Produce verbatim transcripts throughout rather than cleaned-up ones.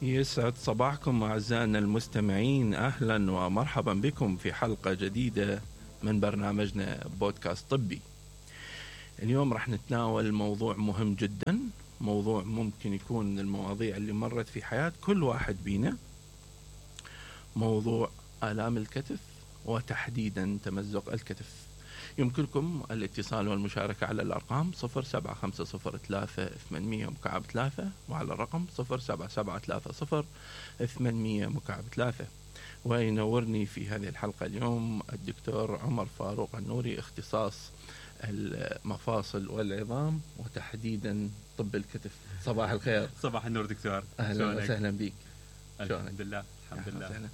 يسعد صباحكم أعزائنا المستمعين، أهلا ومرحبا بكم في حلقة جديدة من برنامجنا بودكاست طبي. اليوم راح نتناول موضوع مهم جدا، موضوع ممكن يكون من المواضيع اللي مرت في حياة كل واحد بينا، موضوع آلام الكتف وتحديدا تمزق الكتف. يمكنكم الاتصال والمشاركة على الأرقام صفر سبعة خمسة صفر ثلاثة ثمانمية مكعب ثلاثة وعلى الرقم صفر سبعة سبعة ثلاثة صفر ثمانمية مكعب ثلاثة. وينورني في هذه الحلقة اليوم الدكتور عمر فاروق النوري، اختصاص المفاصل والعظام وتحديدا طب الكتف. صباح الخير. صباح النور دكتور. أهلا وسهلا بك. الحمد لله الحمد لله. سهلا.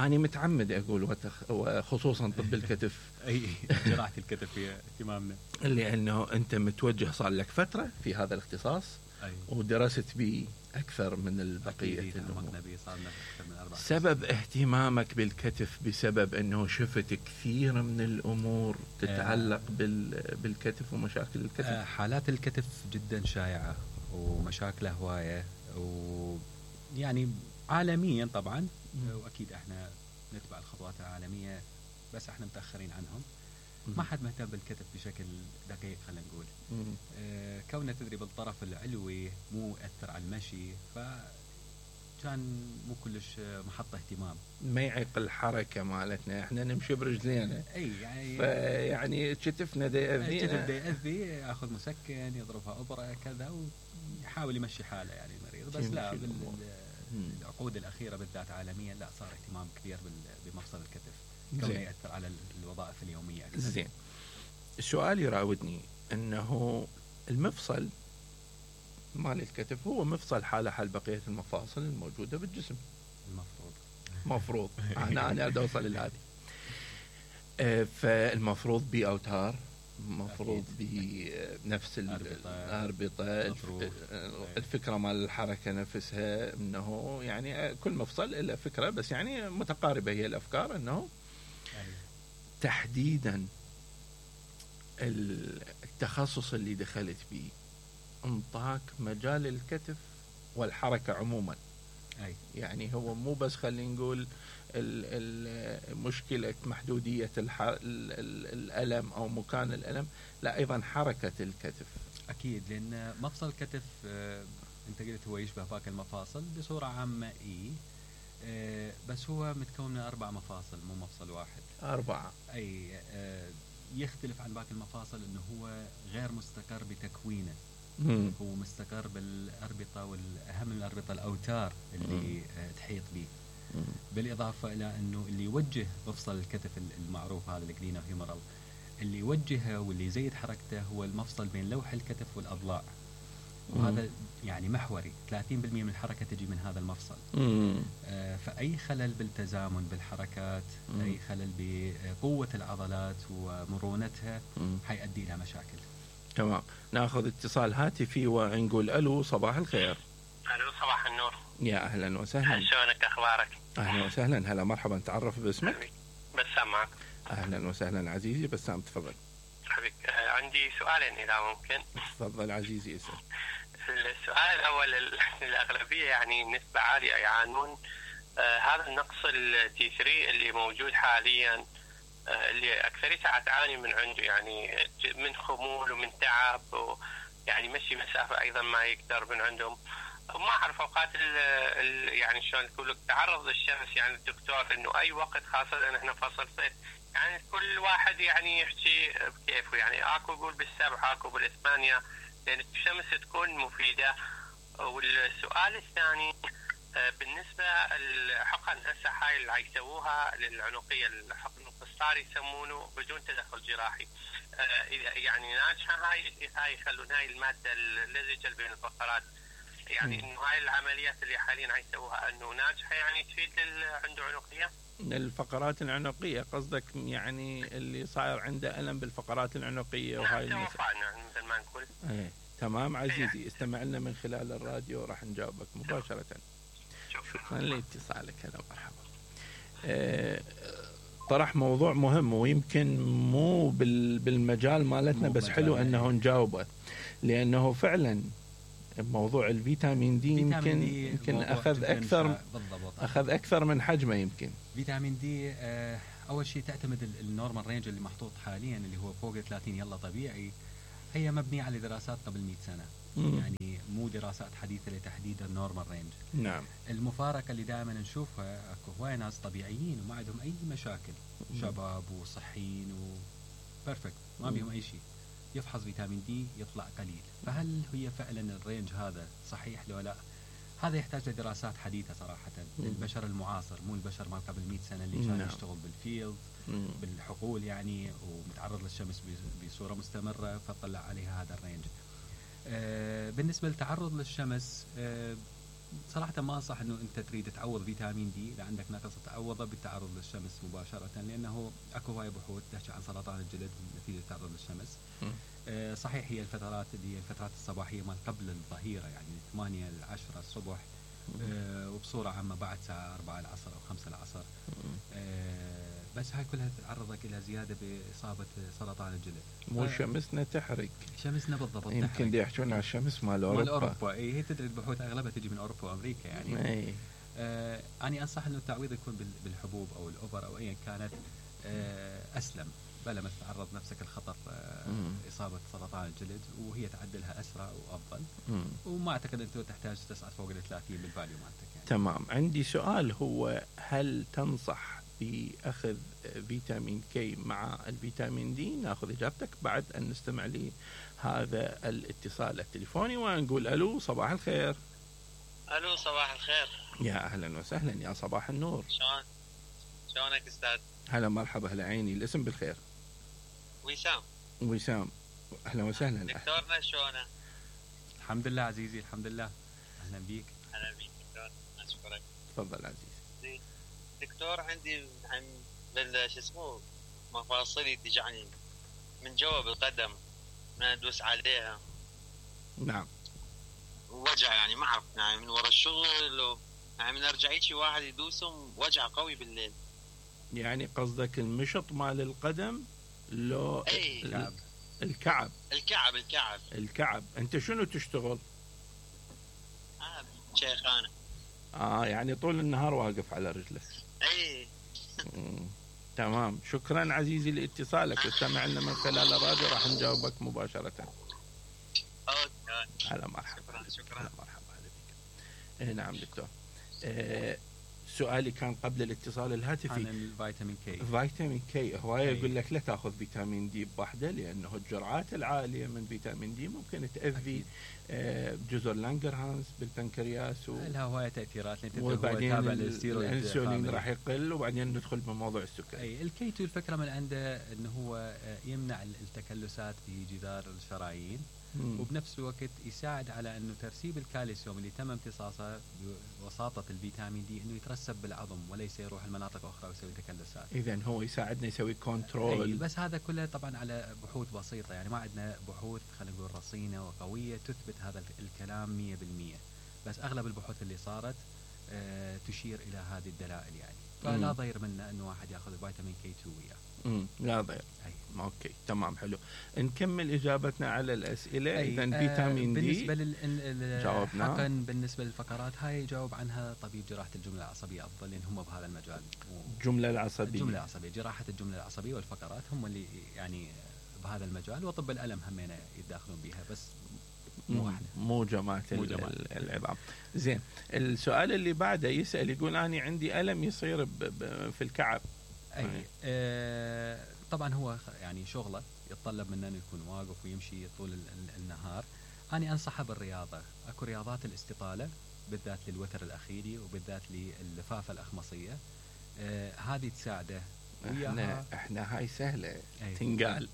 أنا متعمد أقول وتخ... وخصوصا طب الكتف أي جراحة الكتف هي اهتمامنا، لأنه أنت متوجه صار لك فترة في هذا الاختصاص. أي. ودرست به أكثر من البقية. سبب اهتمامك بالكتف بسبب أنه شفت كثير من الأمور تتعلق بال... بالكتف ومشاكل الكتف. حالات الكتف جدا شائعة ومشاكله هواية، ويعني عالميا طبعا، واكيد احنا نتبع الخطوات العالميه، بس احنا متاخرين عنهم. ما حد مهتم بالكتف بشكل دقيق، خلينا نقول. آه كونه تدري بالطرف العلوي مو ياثر على المشي، فكان مو كلش محط اهتمام. ما يعيق الحركه مالتنا، احنا نمشي برجلينا. اي يعني يعني كتفنا دا يأذي، كتف دا يأذي، ياخذ مسكن، يضربها ابره كذا، ويحاول يمشي حاله يعني المريض. بس لا، العقود الأخيرة بالذات عالميا لا، صار اهتمام كبير بمفصل الكتف كونه يأثر على الوظائف اليومية. زين. السؤال يراودني أنه المفصل مال الكتف هو مفصل حالة حال بقية المفاصل الموجودة بالجسم. المفروض مفروض أنا أنا أوصل لهذه. فالمفروض بأوتار، مفروض بنفس الأربطة، الفكرة مال الحركة نفسها، أنه يعني كل مفصل إلا فكرة، بس يعني متقاربة هي الأفكار. أنه تحديدا التخصص اللي دخلت به انطاك مجال الكتف والحركة عموما. أي. يعني هو مو بس خلينا نقول مشكلة محدودية الألم أو مكان الألم، لا أيضا حركة الكتف. أكيد، لأن مفصل الكتف آه أنت قلت هو يشبه باقي المفاصل بصورة عامة. إيه آه بس هو متكون من أربع مفاصل، مو مفصل واحد. أربعة. أي آه يختلف عن باقي المفاصل أنه هو غير مستقر بتكوينه. مم. هو مستقر بالأربطة، والأهم من الأربطة الأوتار اللي آه تحيط به. بالإضافة إلى أنه اللي يوجه مفصل الكتف المعروف هذا الجلينا فيمورال، اللي يوجهه واللي يزيد حركته هو المفصل بين لوح الكتف والأضلاع. وهذا يعني محوري، ثلاثين بالمئة من الحركة تجي من هذا المفصل. آه فأي خلل بالتزامن بالحركات، مم. أي خلل بقوة العضلات ومرونتها حيؤدي إلى مشاكل. تمام. ناخذ اتصال هاتفي ونقول ألو. صباح الخير. ألو صباح النور. يا أهلا وسهلا. شلونك أخبارك؟ أهلا وسهلا. هلا مرحبا. تعرف باسمك؟ بسام معك. أهلا وسهلا عزيزي بسام، تفضل. حبيبي عندي سؤالين إذا ممكن. تفضل عزيزي اسأل. السؤال الأول، الأغلبية يعني نسبة عالية يعانون آه هذا النقص التي ثري اللي موجود حاليا، آه اللي أكثريتها تعاني من عنده، يعني من خمول ومن تعب، ويعني مشي مسافة أيضا ما يقدر من عندهم. ما أعرف أوقات ال ال يعني شلون تقول لك تعرض للشمس، يعني الدكتور إنه أي وقت خاصة إن إحنا فصل صيف، يعني كل واحد يعني يحكي بكيفه، يعني أكو يقول بالسبعة أكو بالثمانية، لأن الشمس تكون مفيدة. والسؤال الثاني بالنسبة الحقن هسه هاي اللي يسووها للعنقية، الحقن القسطري يسمونه بدون تدخل جراحي، يعني ناجحة هاي هاي يخلون هاي المادة اللزجة بين الفقرات، يعني انه هاي العمليات اللي حاليا يسووها انه ناجحة، يعني تفيد عنده عنقية؟ الفقرات العنقية قصدك، يعني اللي صاير عنده ألم بالفقرات العنقية وهاي نعم مثل ما نقول. ايه تمام عزيزي، استمع لنا من خلال الراديو راح نجاوبك مباشرة. شكرا لاتصالك. هلا مرحبا. اه طرح موضوع مهم ويمكن مو بالمجال مالتنا، بس حلو انه نجاوبه، لانه فعلا موضوع الفيتامين دي يمكن دي يمكن اخذ اكثر بالضبط اخذ اكثر من حجمه يمكن. فيتامين دي آه اول شيء تعتمد النورمال رينج اللي محطوط حاليا اللي هو فوق ثلاثين يلا طبيعي، هي مبنيه على دراسات قبل مئة سنه. مم. يعني مو دراسات حديثه لتحديد النورمال رينج. نعم. المفارقه اللي دائما نشوفها اكو هواي ناس طبيعيين وما عندهم اي مشاكل، مم. شباب وصحيين وبرفكت ما بيهم اي شيء، يفحص فيتامين دي يطلع قليل. فهل هي فعلا الرينج هذا صحيح لو لا؟ هذا يحتاج لدراسات حديثه صراحه للبشر المعاصر، مو البشر ما قبل مئة سنه اللي كان يشتغل بالفيلد بالحقول يعني ومتعرض للشمس بصوره مستمره فطلع عليها هذا الرينج. آه بالنسبه للتعرض للشمس آه صراحه ما انصح انه انت تريد تعوض فيتامين دي اذا عندك نقص تعوضه بالتعرض للشمس مباشره، لانه اكو هواي بحوث تحكي عن سرطان الجلد نتيجه التعرض للشمس. آه صحيح هي الفترات اللي هي الفترات الصباحيه مال قبل الظهيره يعني ثمانية ل عشرة الصبح آه وبصوره عامه بعد الساعه أربعة العصر او خمسة العصر. آه بس هاي كلها تعرضك الى زياده باصابه سرطان الجلد. مو شمسنا تحرق. شمسنا بالضبط يمكن دي يحكون على الشمس مال اوروبا. مال اوروبا اي هي تدري البحوث اغلبها تجي من اوروبا وامريكا يعني. اي آه اني انصح انه التعويض يكون بالحبوب او الاوفر او ايا كانت آه اسلم، بلا ما تتعرض نفسك الخطر آه اصابه سرطان الجلد وهي تعدلها اسرع وافضل. مم. وما اعتقد انت تحتاج تصعد فوق ال ثلاثين بالفاليو مالتك يعني. تمام. عندي سؤال هو هل تنصح بأخذ فيتامين كي مع الفيتامين دي؟ ناخذ إجابتك بعد أن نستمع لهذا الاتصال التليفوني ونقول ألو صباح الخير. ألو صباح الخير. يا أهلا وسهلا يا صباح النور. شلون شلونك أستاذ؟ هلا مرحبا هلا عيني. الاسم بالخير. وسام. وسام أهلا وسهلا. دكتورنا شلونه؟ الحمد لله عزيزي الحمد لله. أهلا بيك. أهلا بيك دكتور أشكرك. تفضل عزيزي. دكتور عندي عن بال شو اسمه مفاصلي تجعني من جوا بالقدم ما ادوس عليها. نعم. وجع يعني ما اعرف يعني من ورا الشغل و... يعني من ارجع شي واحد يدوسهم وجع قوي بالليل. يعني قصدك المشط مال القدم لو اي الكعب الكعب الكعب الكعب الكعب. انت شنو تشتغل؟ اه شيخانه. اه يعني طول النهار واقف على رجلك. اي تمام. شكرا عزيزي لاتصالك واستمع لنا من خلال الراديو راح نجاوبك مباشرة. اوكي. هلا مرحبا. شكرا شكرا. هلا مرحبا بك. نعم دكتور. آه سؤالي كان قبل الاتصال الهاتفي عن الفيتامين كي. فيتامين كي هواية يقول لك لا تاخذ فيتامين دي بوحده لانه الجرعات العاليه من فيتامين دي ممكن تاذي آه جزر لانجرهانز بالبنكرياس و... لها هوايه تاثيرات وبعدين الانسولين راح يقل وبعدين ندخل بموضوع السكر. اي الكي تو الفكره من عنده انه هو يمنع التكلسات في جدار الشرايين. مم. وبنفس الوقت يساعد على انه ترسيب الكالسيوم اللي تم امتصاصه بوساطه الفيتامين دي انه يترسب بالعظم وليس يروح المناطق اخرى ويسوي تكلسات. اذا هو يساعدنا يسوي كنترول. بس هذا كله طبعا على بحوث بسيطه يعني ما عندنا بحوث خلينا نقول رصينه وقويه تثبت هذا الكلام مية بالمية. بس اغلب البحوث اللي صارت آه تشير الى هذه الدلائل يعني. فلا ضير منه انه واحد ياخذ فيتامين كي تو وياه. امم لا ضير. اوكي تمام حلو. نكمل اجابتنا على الاسئله. اذا فيتامين دي بالنسبه لل جاوبنا. حقا بالنسبه للفقرات هاي يجاوب عنها طبيب جراحه الجمله العصبيه افضل لان هم بهذا المجال. الجمله العصبيه الجمله العصبيه جراحه الجمله العصبيه والفقرات هم اللي يعني بهذا المجال وطب الالم همينه يتداخلون بها بس مو احنا مو جماعه العظام. زين السؤال اللي بعده يسال يقول اني عندي الم يصير في الكعب. اي آه طبعا هو يعني شغله يتطلب منه انه يكون واقف ويمشي طول النهار. انا انصحه بالرياضه. اكو رياضات الاستطاله بالذات للوتر الاخيري وبالذات لللفافه الاخمصيه. آه هذه تساعده. احنا احنا هاي سهله تنقال.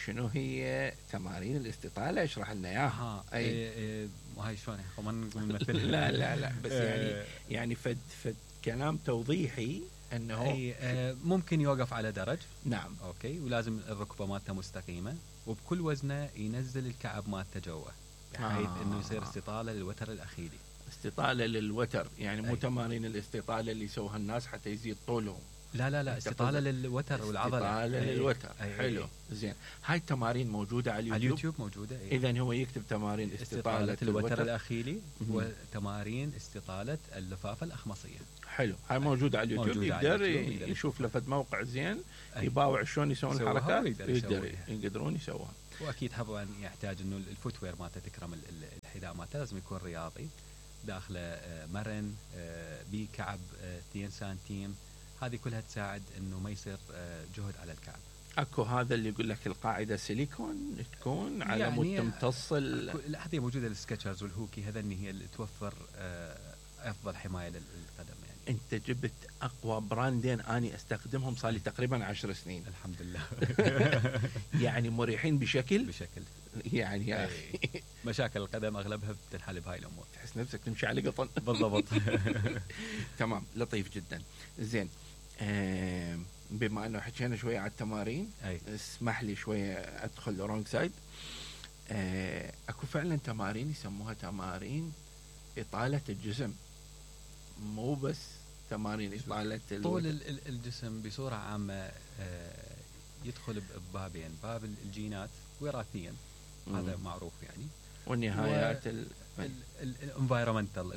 شنو هي تمارين الاستطاله؟ اشرح لنا اياها. اي ايه وهاي شلون ما نقول مثل لا لا لا بس يعني يعني فد فد كلام توضيحي انه اي آه ممكن يوقف على درج. نعم اوكي ولازم الركبه مالته مستقيمه وبكل وزنه ينزل الكعب مالته جوا بحيث آه. انه يصير استطاله للوتر الاخيري. استطاله للوتر يعني مو تمارين الاستطاله اللي يسووها الناس حتى يزيد طولهم. لا لا لا استطالة للوتر والعضلة. استطالة أي للوتر. أي حلو. أي. زين هاي التمارين موجودة على اليوتيوب؟ على اليوتيوب موجودة. إذا هو يكتب تمارين استطالة, استطالة الوتر الأخيلي وتمارين استطالة اللفافة الأخمصية. حلو. هاي موجودة على اليوتيوب. موجودة يقدر على اليوتيوب. يشوف لفت موقع زين أي. يباوع شلون يسوون الحركات يقدر يقدرون يسووها. واكيد طبعا يحتاج انه الفوتوير مالته تكرم الحذاء مالته لازم يكون رياضي داخله مرن بكعب اثنين سنتيم. هذه كلها تساعد انه ما يصير جهد على الكعب. اكو هذا اللي يقول لك القاعده سيليكون تكون على يعني مود تمتص ال... هذه موجوده السكتشرز والهوكي هذا هي اللي توفر افضل حمايه للقدم. يعني انت جبت اقوى براندين اني استخدمهم صار لي تقريبا عشر سنين الحمد لله. يعني مريحين بشكل بشكل يعني يا اخي مشاكل القدم اغلبها بتنحل بهاي الامور. تحس نفسك تمشي على قطن. بالضبط. تمام لطيف جدا. زين آه بما انه حكينا شويه على التمارين أي. اسمح لي شويه ادخل رونج سايد. آه اكو فعلا تمارين يسموها تمارين اطاله الجسم مو بس تمارين اطاله طول الجسم بصوره عامه. آه يدخل ببابين باب الجينات وراثيا هذا معروف يعني والنهايات الانفايرمنتال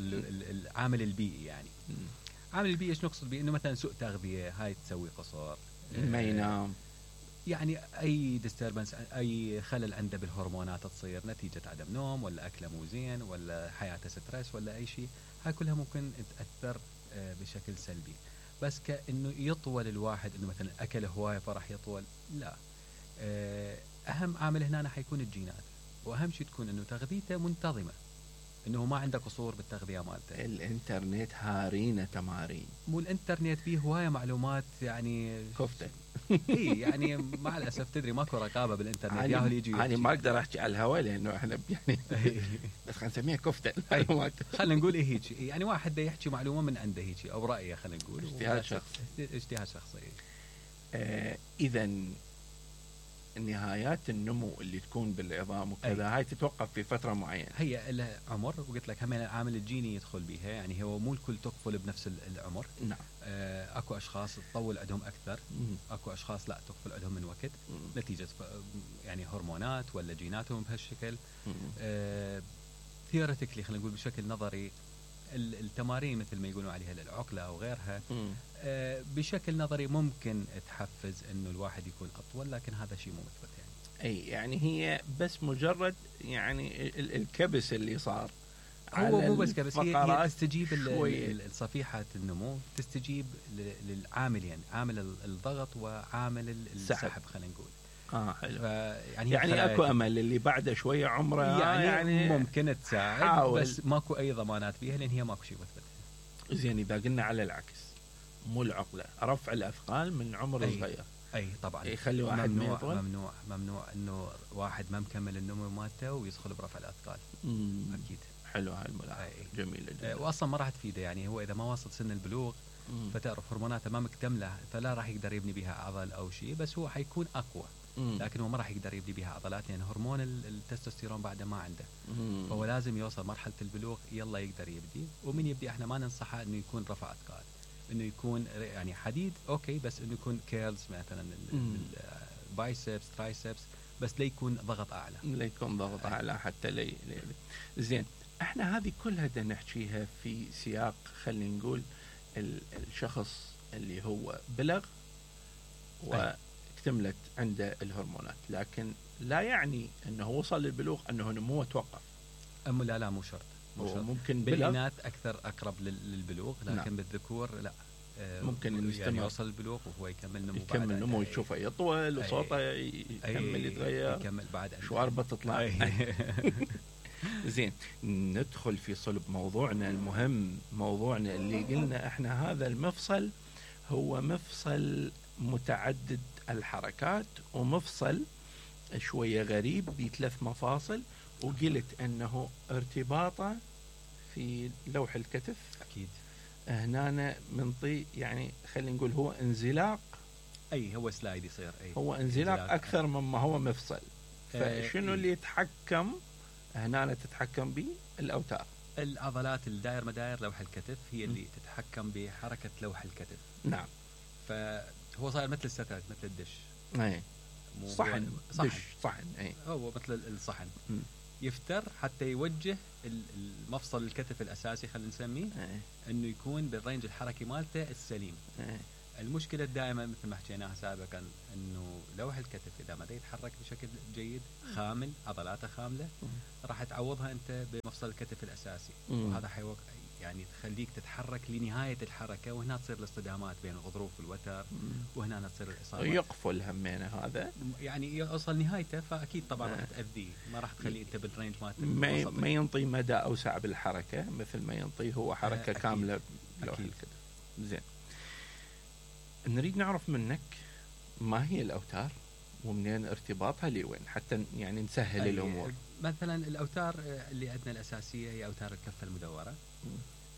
العامل البيئي. يعني مم. عامل البيئي ايش نقصد بيه؟ انه مثلا سوء تغذيه هاي تسوي قصور ما ينام يعني اي ديستربنس اي خلل عنده بالهرمونات تصير نتيجه عدم نوم ولا اكله مو زين ولا حياته ستريس ولا اي شيء. هاي كلها ممكن تاثر بشكل سلبي. بس كانه يطول الواحد انه مثلا اكل هوايه فراح يطول لا. اهم عامل هنا حيكون الجينات واهم شيء تكون انه تغذيته منتظمه انه ما عنده قصور بالتغذيه مالته. الانترنت هارينا تمارين مو الانترنت فيه هوايه معلومات يعني كفته. اي يعني مع الاسف تدري ماكو رقابه بالانترنت. ياهو يجي انا ما اقدر احكي على الهواء لانه احنا يعني بس خلينا نسميها كفته المعلومات. خلينا نقول إيه هيك يعني واحد ده يحكي معلومه من عنده هيك او رايه خلينا نقول اجتهاد شخصي. اجتهاد شخصي. آه اذا نهايات النمو اللي تكون بالعظام وكذا هاي تتوقف في فتره معينه. هي لها عمر وقلت لك هم العامل الجيني يدخل بها. يعني هو مو الكل تقفل بنفس العمر. نعم. آه اكو اشخاص تطول عندهم اكثر. مم. اكو اشخاص لا تقفل عندهم من وقت. مم. نتيجه يعني هرمونات ولا جيناتهم بهالشكل. آه ثيوريتيكلي خلينا نقول بشكل نظري التمارين مثل ما يقولون عليها العقله او غيرها آه بشكل نظري ممكن تحفز انه الواحد يكون اطول لكن هذا شيء مو مثبت يعني. اي يعني هي بس مجرد يعني الكبس اللي صار هو مو بس كبس هي, هي تستجيب الصفيحة النمو تستجيب للعاملين عامل الضغط وعامل السحب خلينا نقول. اه حلو. يعني, يعني اكو امل اللي بعده شويه عمره يعني, يعني ممكن تساعد حاول. بس ماكو اي ضمانات بيها لان هي ماكو شيء مثبت. زين اذا قلنا على العكس مو العقله رفع الاثقال من عمر أي صغير. اي طبعا يخلي واحد ممنوع ممنوع ممنوع انه واحد ما مكمل النمو مالته ويدخل برفع الاثقال. مم. اكيد. حلو هاي الملاحظه جميله جدا. واصلا ما راح تفيده يعني هو اذا ما وصل سن البلوغ مم. فتعرف هرموناته ما مكتمله فلا راح يقدر يبني بها عضل او شيء بس هو حيكون اقوى. مم. لكن هو ما راح يقدر يبني بها عضلات لان يعني هرمون التستوستيرون بعده ما عنده. مم. فهو لازم يوصل مرحله البلوغ يلا يقدر يبدي. ومن يبدي احنا ما ننصحه انه يكون رفع اثقال انه يكون يعني حديد اوكي بس انه يكون كيرلز مثلا البايسبس ترايسبس بس لا يكون ضغط اعلى. لا يكون ضغط اعلى حتى لي, لي. زين احنا هذه كلها بدنا نحكيها في سياق خلينا نقول الشخص اللي هو بلغ واكتملت عنده الهرمونات لكن لا يعني انه وصل للبلوغ انه نموه توقف. أم لا لا مو شرط. ممكن بالإناث أكثر أقرب للبلوغ لكن نعم. بالذكور لا ممكن يعني يوصل البلوغ وهو يكمل نمو يكمل نمو يشوفه يطول وصوته يكمل يتغير يكمل بعد شواربه تطلع. زين ندخل في صلب موضوعنا المهم موضوعنا اللي قلنا احنا هذا المفصل هو مفصل متعدد الحركات ومفصل شوية غريب بثلاث مفاصل وقلت انه ارتباطه في لوح الكتف اكيد هنا منطي يعني خلينا نقول هو انزلاق. اي هو سلايد يصير اي هو انزلاق, انزلاق اكثر مما هو مفصل. فشنو اللي يتحكم هنا تتحكم به الاوتار العضلات الدائر مداير لوح الكتف هي اللي م. تتحكم بحركة لوح الكتف. نعم. فهو صاير مثل الستات مثل الدش. اي صحن دش صحن. اي هو مثل الصحن. م. يفتر حتى يوجه المفصل الكتف الاساسي خلينا نسميه اي انه يكون بالرينج الحركي مالته السليم. اي المشكله دائما مثل ما حكيناها سابقا انه لوح الكتف اذا ما يتحرك بشكل جيد خامل عضلاته خامله راح تعوضها انت بمفصل الكتف الاساسي. م. وهذا حيوق يعني تخليك تتحرك لنهايه الحركه وهنا تصير الاصطدامات بين الغضروف والوتر وهنا تصير الاصابات. يقفل همينه هذا يعني يوصل نهايته فاكيد طبعا راح تاذيه ما راح تخليه انت بالرينج مالته ما, ما ينطي مدى اوسع بالحركه مثل ما ينطي هو حركه أكيد. كامله بلوح الكتف. زين نريد نعرف منك ما هي الاوتار ومنين ارتباطها لوين حتى يعني نسهل الامور. مثلا الاوتار اللي عندنا الاساسيه هي اوتار الكفه المدوره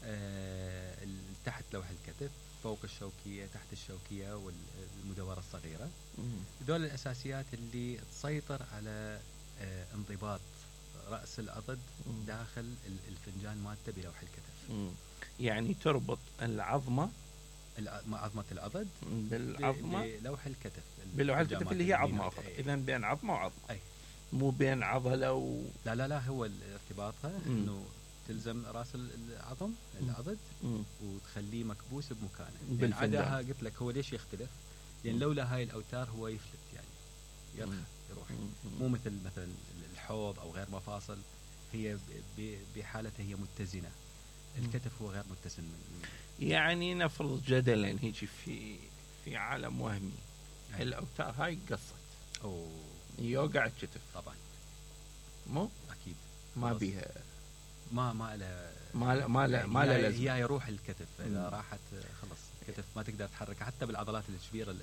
آه تحت لوح الكتف فوق الشوكيه تحت الشوكيه والمدوره الصغيره. هذول الاساسيات اللي تسيطر على آه انضباط راس العضد داخل الفنجان مالته بلوح الكتف. مم. يعني تربط العظمه عظمه العضد بالعظمه بلوح الكتف بلوح الكتف اللي هي عظمه اخرى. اذا بين عظمه وعظمه أي. مو بين عضله و... لا لا لا هو ارتباطها انه تلزم راس العظم العضد مم. وتخليه مكبوس بمكانه. بالفنجان. عداها قلت لك هو ليش يختلف؟ لان لولا هاي الاوتار هو يفلت يعني يرخ يروح. مم. مو مثل مثلا الحوض او غير مفاصل هي بحالتها هي متزنه. الكتف هو غير متزن. يعني نفرض جدلا هيك في في عالم وهمي أي. الاوتار هاي قصت او يوقع الكتف طبعا مو اكيد ما بيها ما ما له ما لا ما لا يعني ما لا هي, لازمه. هي يروح الكتف اذا مم. راحت خلص الكتف ما تقدر تحركها حتى بالعضلات الكبيره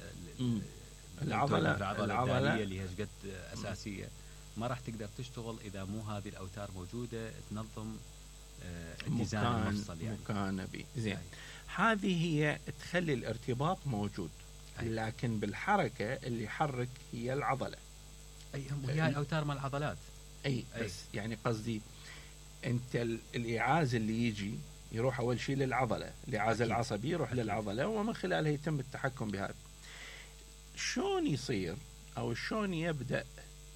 العضله العضله الداليه اللي هي قد اساسيه ما راح تقدر تشتغل اذا مو هذه الاوتار موجوده تنظم اتزان مكان المفصل يعني مكان بي زين. هذه هي تخلي الارتباط موجود. أي. لكن بالحركه اللي يحرك هي العضله. اي هي الاوتار مال العضلات. اي, أي. بس يعني قصدي انت الايعاز اللي يجي يروح اول شيء للعضله الايعاز العصبي يروح أكيد. للعضله ومن خلالها يتم التحكم بهذا. شلون يصير او شلون يبدا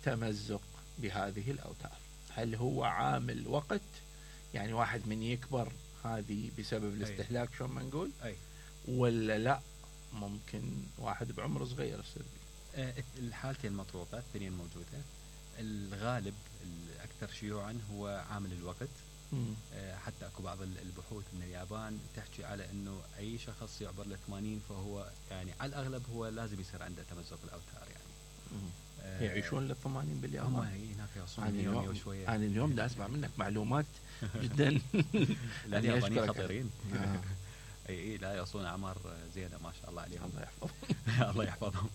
تمزق بهذه الاوتار؟ هل هو عامل وقت يعني واحد من يكبر هذه بسبب الاستهلاك شلون ما نقول أي. ولا لا ممكن واحد بعمر صغير يصير أه الحالتين مطروقه الاثنين موجوده. الغالب الاكثر شيوعا هو عامل الوقت. أه حتى اكو بعض البحوث من اليابان تحكي على انه اي شخص يعبر ل ثمانين فهو يعني على الاغلب هو لازم يصير عنده تمزق الاوتار يعني. أه يعيشون للثمانين باليابان. هم هناك يوصلون أنا يومي اليوم وشويه. انا اليوم دا اسمع منك معلومات جدا. اليابانيين خطيرين. اي اي لا يوصلون اعمار زينه ما شاء الله عليهم. الله يحفظهم. الله يحفظهم.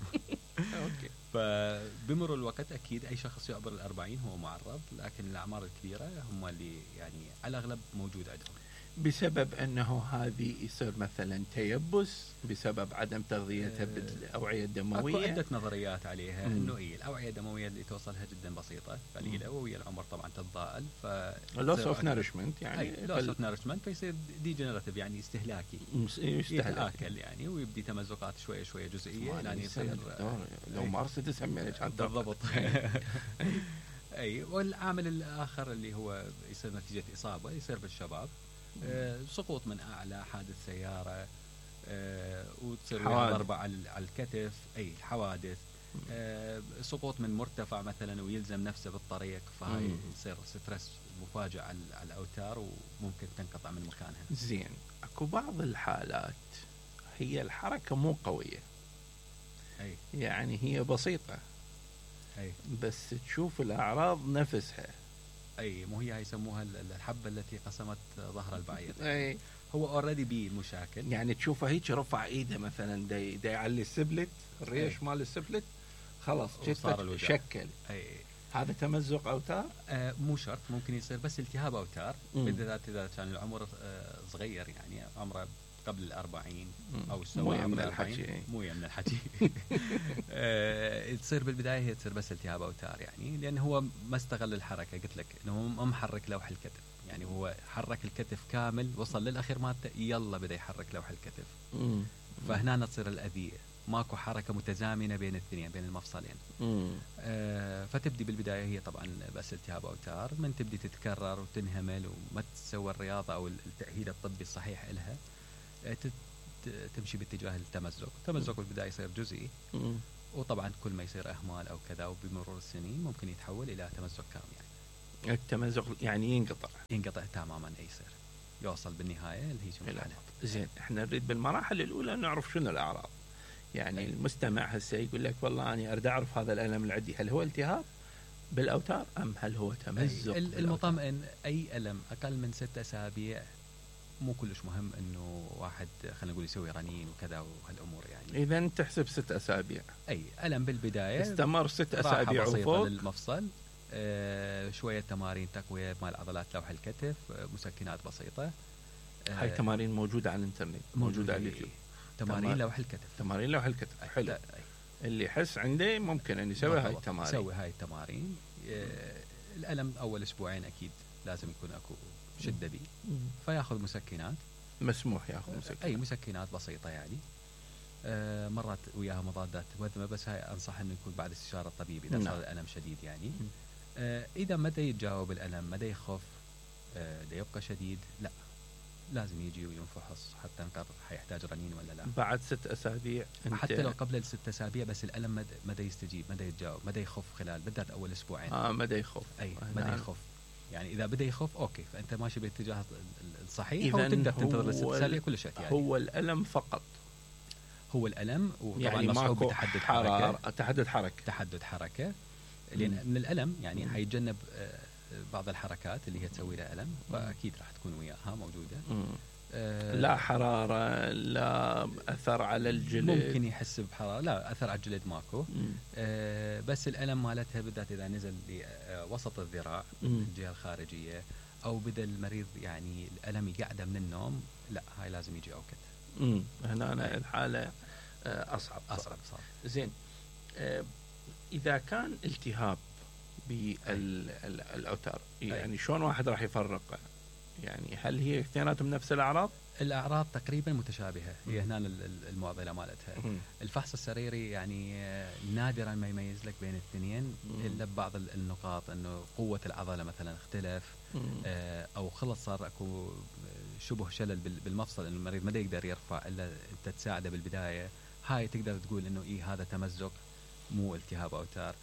اوكي. فبمر الوقت اكيد اي شخص يعبر الأربعين هو معرض لكن الاعمار الكبيره هم اللي يعني على الاغلب موجود عندهم. بسبب انه هذه يصير مثلا تيبس بسبب عدم تغذيتها بالاوعيه الدمويه. اكو عده نظريات عليها انه اي الاوعيه الدمويه اللي توصلها جدا بسيطه قليله وهي العمر طبعا تتضاءل ف لوس اوف نارشمنت يعني لوس اوف نارشمنت فيصير ديجنراتيف يعني استهلاكي يتاكل يعني ويبدي تمزقات شويه شويه جزئيه يعني يصير لو مارست سمينا كان بالضبط. اي والعامل الاخر اللي هو يصير نتيجه اصابه يصير بالشباب. آه سقوط من اعلى حادث سياره آه وتصير ضربه على الكتف اي الحوادث آه سقوط من مرتفع مثلا ويلزم نفسه بالطريق فهاي يصير ستريس مفاجئ على الاوتار وممكن تنقطع من مكانها. زين اكو بعض الحالات هي الحركه مو قويه اي يعني هي بسيطه اي بس تشوف الاعراض نفسها. اي مو هي يسموها الحبه التي قسمت ظهر البعير. اي هو اوريدي بيه مشاكل يعني تشوفه هيك رفع ايده مثلا دا دا يعلي السبلت الريش مال السبلت خلاص جثه شكل. اي هذا تمزق اوتار؟ آه مو شرط ممكن يصير بس التهاب اوتار بالذات اذا كان العمر آه صغير يعني عمره قبل الأربعين أو سوى من الحكي مو من الحكي. آه تصير بالبداية هي تصير بس التهاب أوتار يعني لأن هو ما استغل الحركة قلت لك إنه ما محرك لوح الكتف يعني هو حرك الكتف كامل وصل للأخير مالته يلا بدأ يحرك لوح الكتف. فهنا تصير الاذيه، ماكو حركه متزامنه بين الاثنين بين المفصلين. آه فتبدي بالبدايه هي طبعا بس التهاب اوتار، من تبدي تتكرر وتنهمل وما تسوي الرياضه او التاهيل الطبي الصحيح لها، آه تمشي باتجاه التمزق. التمزق بالبدايه يصير جزئي، وطبعا كل ما يصير اهمال او كذا وبمرور السنين ممكن يتحول الى تمزق كامل. يعني التمزق يعني ينقطع ينقطع تماما، اي يصير يوصل بالنهايه اللي هي شنو الحاله. زين، احنا نريد بالمراحل الاولى نعرف شنو الاعراض. يعني أي. المستمع هسه يقول لك والله انا اريد اعرف هذا الالم اللي عندي هل هو التهاب بالاوتار ام هل هو تمزق؟ المطمئن اي الم اقل من ست اسابيع مو كلش مهم انه واحد خلينا نقول يسوي رنين وكذا وهالامور. يعني اذا تحسب ست اسابيع اي الم بالبدايه استمر ست اسابيع وفوق للمفصل، آه شويه تمارين تقويه مال عضلات لوح الكتف، آه مسكنات بسيطه. آه هاي تمارين موجوده على الانترنت، موجوده على اليوتيوب. تمارين لوح الكتف تمارين لوح الكتف حلو. أي. اللي يحس عنده ممكن ان يسوي هاي التمارين يسوي هاي التمارين. آه الالم اول اسبوعين اكيد لازم يكون اكو شده بي، فياخذ مسكنات، مسموح ياخذ مسكنات، اي مسكنات بسيطه يعني. آه مرات وياها مضادات وذمه، بس هاي انصح انه يكون بعد استشاره الطبيب اذا صار الالم شديد يعني. آه اذا ما دا يتجاوب الالم، ما دا يخف، آه دا يبقى شديد، لا لازم يجي وينفحص حتى نقرر حيحتاج رنين ولا لا. بعد ست اسابيع حتى لو قبل الست اسابيع بس الالم ما دا يستجيب، ما دا يتجاوب، ما دا يخف خلال بالذات اول اسبوعين. اه ما دا يخف، اي ما دا يخف. يعني اذا بدا يخف اوكي فانت ماشي باتجاه الصحيح، وتقدر تنتظر الست اسابيع كل شيء. يعني هو الالم فقط، هو الالم وطبعا يعني مصحوب بتحدد حركه تحدد حركه تحدد حركه لان مم. من الالم يعني مم. حيتجنب بعض الحركات اللي هي تسوي له الم، فاكيد راح تكون وياها موجوده. آه لا حراره، لا اثر على الجلد، ممكن يحس بحراره، لا اثر على الجلد ماكو. آه بس الالم مالتها بالذات اذا نزل لوسط الذراع الجهه الخارجيه، او بدا المريض يعني الالم يقعده من النوم، لا هاي لازم يجي اوكت. امم هنا أنا الحاله اصعب اصعب صار. زين، آه اذا كان التهاب بالاوتار يعني شلون واحد راح يفرق؟ يعني هل هي اثنيناتهم نفس الاعراض؟ الاعراض تقريبا متشابهه، هي هنا المعضله مالتها. الفحص السريري يعني نادرا ما يميز لك بين الاثنين الا ببعض النقاط، انه قوه العضله مثلا اختلف، او خلص صار اكو شبه شلل بالمفصل، انه المريض ما يقدر يرفع الا انت تساعده بالبدايه، هاي تقدر تقول انه ايه هذا تمزق مو التهاب اوتار.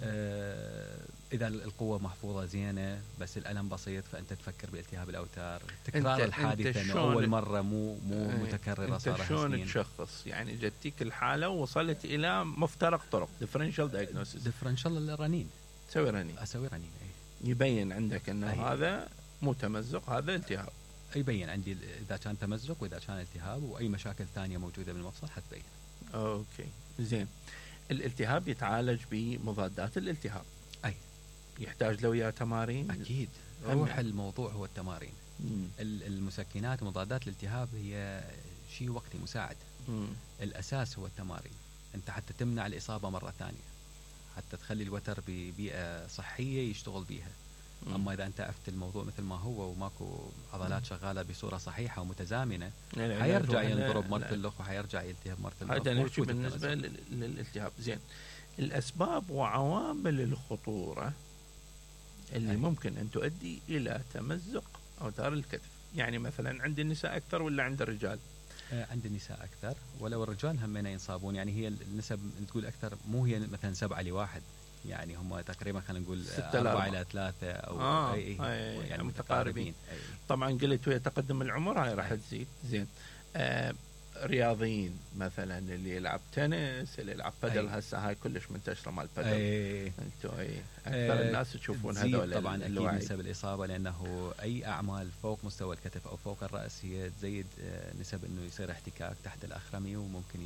آه اذا القوه محفوظه زينه بس الالم بسيط، فانت تفكر بالتهاب الاوتار. تكرار الحادثه انه اول مره مو مو متكرره صار انت شلون تشخص؟ يعني جتك الحاله ووصلت الى مفترق طرق، ديفرنشال دايجنوستس، ديفرنشال الرنين، تسوي رنين، اسوي رنين اي يبين عندك انه أي. هذا مو تمزق، هذا التهاب. يبين عندي اذا كان تمزق واذا كان التهاب، واي مشاكل ثانيه موجوده بالمفصل حتبين. اوكي زين. الالتهاب يتعالج بمضادات الالتهاب. اي يحتاج له وياه تمارين؟ اكيد، روح الموضوع هو التمارين. مم. المسكنات ومضادات الالتهاب هي شيء وقتي مساعد. مم. الاساس هو التمارين، انت حتى تمنع الاصابه مره ثانيه، حتى تخلي الوتر ببيئه صحيه يشتغل بيها. مم. اما اذا انت عفت الموضوع مثل ما هو وماكو عضلات شغاله بصوره صحيحه ومتزامنه، حيرجع ينضرب مرة الاخ وحيرجع يلتهب مرة الاخ. هذا نحكي بالنسبه للالتهاب. زين، الاسباب وعوامل الخطوره اللي أي. ممكن ان تؤدي الى تمزق اوتار الكتف، يعني مثلا عند النساء اكثر ولا عند الرجال؟ آه عند النساء اكثر، ولو الرجال همين ينصابون. يعني هي النسب تقول اكثر، مو هي مثلا سبعة لواحد، يعني هم تقريبا خلينا نقول أربعة إلى ثلاثة أو آه أي أي يعني متقاربين. أي. طبعا قلت ويا تقدم العمر هاي راح تزيد. زين، آه رياضيين مثلا اللي يلعب تنس، اللي يلعب بادل، هسه هاي كلش منتشرة مال بادل. انتوا اي اكثر أي. الناس تشوفون هذول طبعا اكيد نسب الإصابة، لأنه أي أعمال فوق مستوى الكتف أو فوق الرأس هي تزيد نسب إنه يصير احتكاك تحت الأخرمي، وممكن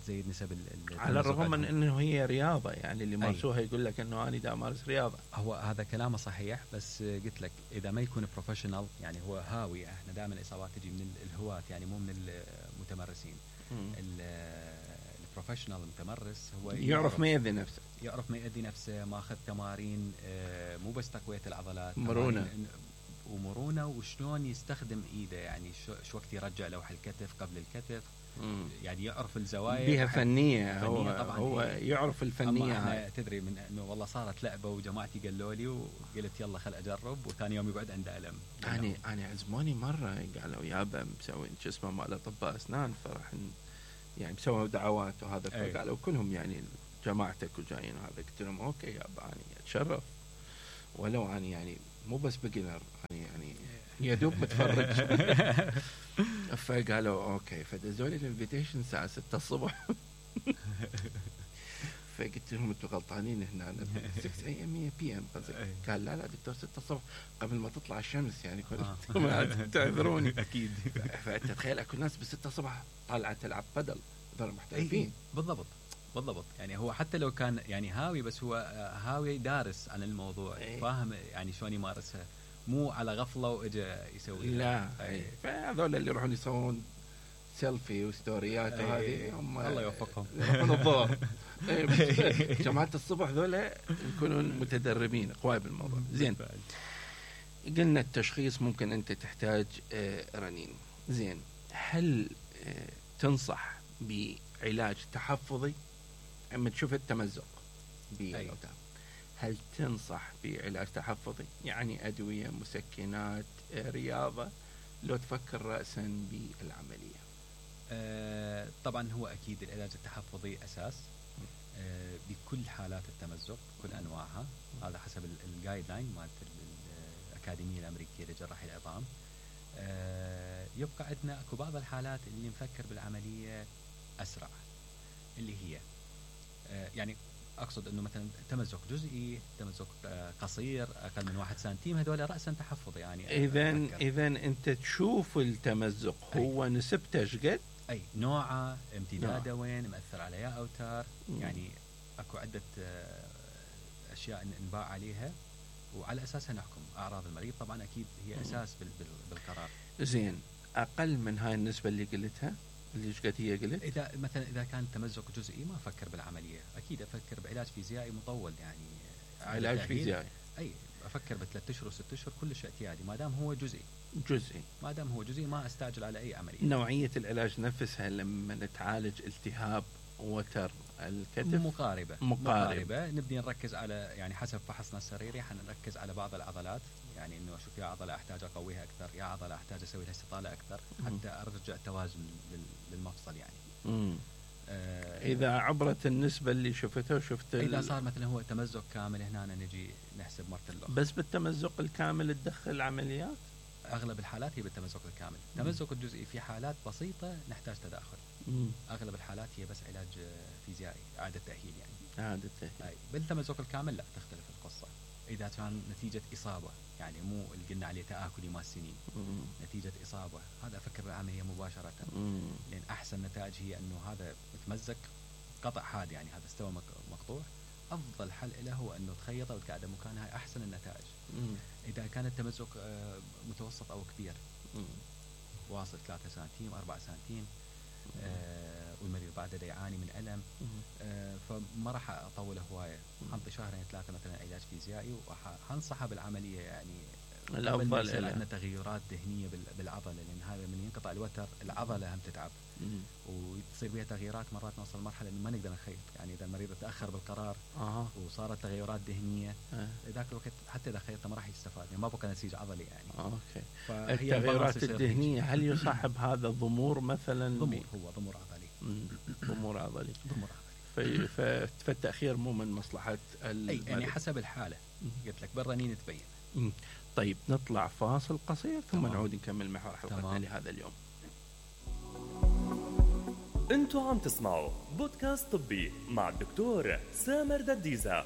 زيد نسب على الرغم من انه هي رياضه، يعني اللي مارسوها يقول لك انه انا دا امارس رياضه. هو هذا كلامه صحيح، بس قلت لك اذا ما يكون بروفيشنال، يعني هو هاوي، احنا دائما الاصابات تجي من الهواة يعني مو من المتمرسين. البروفيشنال المتمرس هو يعرف ما يأذي نفسه، يعرف ما يأذي نفسه، ماخذ تمارين مو بس تقويه العضلات، مرونه، ومرونه وشلون يستخدم ايده، يعني شو, شو وقت يرجع لوح الكتف قبل الكتف. مم. يعني يعرف الزوايا بيها فنيه، فنية هو طبعاً هو هي. يعرف الفنيه هاي. تدري من انه والله صارت لعبه وجماعتي قالوا لي وقلت يلا خل اجرب، وثاني يوم يقعد عنده الم. انا انا عزموني مره قالوا يابا مسوين شو اسمه مال اطباء اسنان، فراح يعني مسووا دعوات وهذا، فقالوا كلهم يعني جماعتك وجايين وهذا. قلت لهم اوكي يابا انا اتشرف، ولو انا يعني مو بس بيجنر، انا يعني يا دوب متفرج. فقالوا اوكي، فدزوا لي الانفيتيشن الساعه ستة الصبح. فقلت لهم انتم غلطانين هنا، ستة اي ام بي ام. قال لا لا دكتور ستة الصبح قبل ما تطلع الشمس يعني كنتم تعذروني. اكيد. فانت تخيل اكو ناس بستة الصبح طالعه تلعب بدل، هذول محترفين. بالضبط بالضبط. يعني هو حتى لو كان يعني هاوي، بس هو هاوي دارس عن الموضوع، أي. فاهم يعني شلون يمارسها، مو على غفله واجا يسوي. لا فهذول اللي يروحون يسوون سيلفي وستوريات وهذه هم الله يوفقهم يروحون الظهر. جماعه الصبح ذولا يكونون متدربين قوي بالموضوع. زين، قلنا التشخيص ممكن انت تحتاج رنين. زين، هل تنصح بعلاج تحفظي اما تشوف التمزق بالأوتار؟ هل تنصح بعلاج تحفظي يعني ادويه، مسكنات، رياضه، لو تفكر راسا بالعمليه؟ آه طبعا هو اكيد العلاج التحفظي اساس آه بكل حالات التمزق كل انواعها، هذا حسب الجايد لاين مالت الاكاديميه الامريكيه لجراحي العظام. آه يبقى عندنا اكو بعض الحالات اللي نفكر بالعمليه اسرع، اللي هي آه يعني اقصد انه مثلا تمزق جزئي، تمزق قصير اقل من واحد سنتيم، هذول راسا تحفظ. يعني اذا اذا انت تشوف التمزق هو أي. نسبته ايش قد؟ اي نوعه، امتداده وين، مأثر على يا اوتار. مم. يعني اكو عده اشياء نباع عليها وعلى اساسها نحكم. اعراض المريض طبعا اكيد هي اساس بالقرار. زين، اقل من هاي النسبه اللي قلتها اللي ايش قد هي قلت؟ اذا مثلا اذا كان تمزق جزئي ما افكر بالعمليه، اكيد افكر بعلاج فيزيائي مطول. يعني علاج فيزيائي اي افكر بثلاث اشهر وست اشهر كلش اعتيادي، ما دام هو جزئي. جزئي ما دام هو جزئي ما استعجل على اي عمليه. نوعيه العلاج نفسها لما نتعالج التهاب وتر الكتف مقاربه مقاربه, مقاربة. نبدي نركز على يعني حسب فحصنا السريري حنركز على بعض العضلات، يعني انه اشوف يا عضله احتاج اقويها اكثر، يا عضله احتاج اسوي لها استطاله اكثر حتى ارجع توازن للمفصل. يعني امم آه اذا عبرت النسبه اللي شفتها وشفت اذا صار مثلا هو تمزق كامل، هنا نجي نحسب مرة اللغة. بس بالتمزق الكامل تدخل عمليات؟ اغلب الحالات هي بالتمزق الكامل. التمزق الجزئي في حالات بسيطه نحتاج تداخل. مم. اغلب الحالات هي بس علاج فيزيائي، اعاده تاهيل يعني. اعاده تاهيل. بالتمزق الكامل لا، تختلف القصه. اذا كان نتيجه اصابه، يعني مو اللي قلنا عليه تآكلي مال سنين، مم. نتيجه اصابه، هذا افكر بالعمليه مباشره. مم. لان احسن نتائج هي انه هذا متمزق قطع حاد، يعني هذا استوى مقطوع، افضل حل له هو انه تخيطه وتقعده مكانها، هاي احسن النتائج. مم. اذا كان التمزق متوسط او كبير، مم. واصل ثلاثة سنتيم أربعة سنتيم، آه والمريض بعده يعاني من ألم، آه فما راح أطوله هواية، حنطي شهرين ثلاثة مثلا علاج فيزيائي وحنصحه بالعملية. يعني الأفضل إلى عندنا تغيرات ذهنية بالعضلة، لأن هذا من ينقطع الوتر العضلة هم تتعب، مم. وتصير بها تغييرات. مرات نوصل مرحلة إنه ما نقدر نخيط، يعني إذا المريض تأخر بالقرار آه. وصارت تغيرات ذهنية، آه. ذاك الوقت حتى إذا خيطه ما راح يستفاد، يعني ما بقى نسيج عضلي يعني. آه. أوكي. التغيرات الذهنية هل يصاحب هذا ضمور مثلا؟ ضمور، هو ضمور عضلي. ضمور عضلي. ضمور عضلي. فالتأخير مو من مصلحة أي يعني حسب الحالة. قلت لك بالرنين تبين. مم. طيب نطلع فاصل قصير ثم تمام. نعود نكمل محور حلقتنا لهذا اليوم. انتوا عم تسمعوا بودكاست طبي مع الدكتور سامر دديزة.